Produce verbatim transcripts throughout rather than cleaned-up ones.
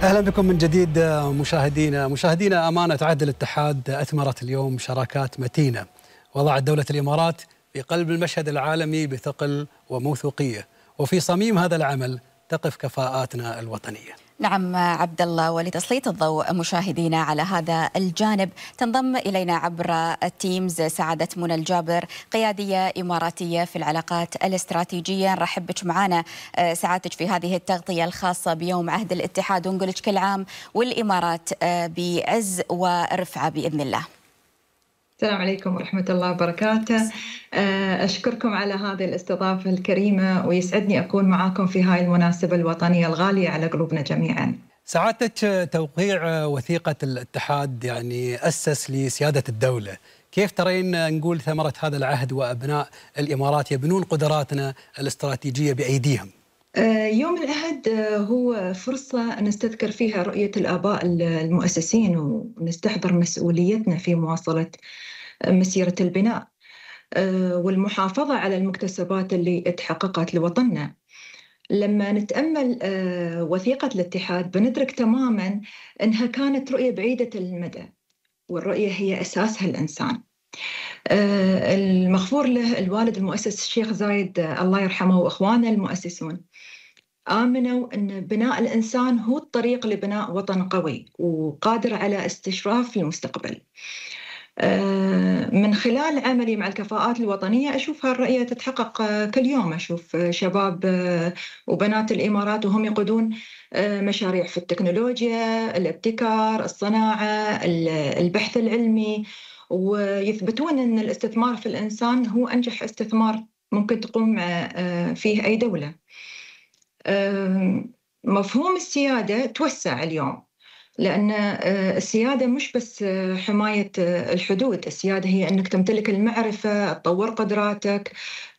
أهلا بكم من جديد مشاهدينا مشاهدينا أمانة عهد الاتحاد أثمرت اليوم شراكات متينة وضعت دولة الإمارات في قلب المشهد العالمي بثقل وموثوقية، وفي صميم هذا العمل تقف كفاءاتنا الوطنية. نعم عبد الله، ولتسليط الضوء مشاهدينا على هذا الجانب تنضم إلينا عبر التيمز سعادة منى الجابر، قيادية إماراتية في العلاقات الاستراتيجية. نرحب بك معنا سعادتك في هذه التغطية الخاصة بيوم عهد الاتحاد، ونقول لك كل عام والإمارات بعز ورفعة بإذن الله. السلام عليكم ورحمة الله وبركاته. أشكركم على هذه الاستضافة الكريمة، ويسعدني أكون معاكم في هاي المناسبة الوطنية الغالية على قلوبنا جميعا. سعادتك توقيع وثيقة الاتحاد يعني أسس لسيادة الدولة، كيف ترين نقول ثمرة هذا العهد وأبناء الإمارات يبنون قدراتنا الاستراتيجية بأيديهم؟ يوم العهد هو فرصة نستذكر فيها رؤية الآباء المؤسسين ونستحضر مسؤوليتنا في مواصلة مسيرة البناء والمحافظة على المكتسبات اللي تحققت لوطننا. لما نتأمل وثيقة الاتحاد بندرك تماماً أنها كانت رؤية بعيدة المدى، والرؤية هي أساسها الإنسان. المغفور له الوالد المؤسس الشيخ زايد الله يرحمه وإخوانه المؤسسون آمنوا أن بناء الإنسان هو الطريق لبناء وطن قوي وقادر على استشراف المستقبل. من خلال عملي مع الكفاءات الوطنية أشوف هالرؤية تتحقق كل يوم. أشوف شباب وبنات الإمارات وهم يقودون مشاريع في التكنولوجيا، الابتكار، الصناعة، البحث العلمي، ويثبتون أن الاستثمار في الإنسان هو أنجح استثمار ممكن تقوم فيه أي دولة. مفهوم السيادة توسع اليوم، لأن السيادة مش بس حماية الحدود، السيادة هي أنك تمتلك المعرفة، تطور قدراتك،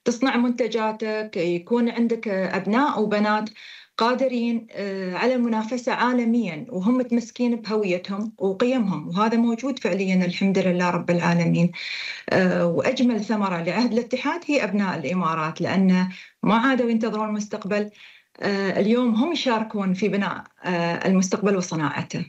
تصنع منتجاتك، يكون عندك أبناء وبنات قادرين على المنافسة عالميا وهم متمسكين بهويتهم وقيمهم، وهذا موجود فعليا الحمد لله رب العالمين. وأجمل ثمرة لعهد الاتحاد هي أبناء الإمارات، لأن ما عادوا ينتظرون المستقبل، اليوم هم يشاركون في بناء المستقبل وصناعته.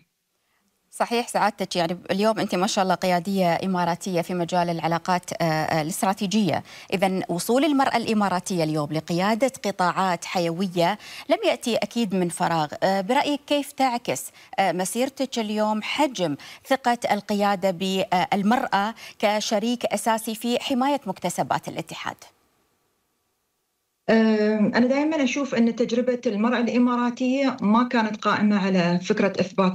صحيح سعادتك، يعني اليوم أنت ما شاء الله قيادية إماراتية في مجال العلاقات الاستراتيجية، إذن وصول المرأة الإماراتية اليوم لقيادة قطاعات حيوية لم يأتي أكيد من فراغ. برأيك كيف تعكس مسيرتك اليوم حجم ثقة القيادة بالمرأة كشريك أساسي في حماية مكتسبات الاتحاد؟ أنا دائما أشوف أن تجربة المرأة الإماراتية ما كانت قائمة على فكرة إثبات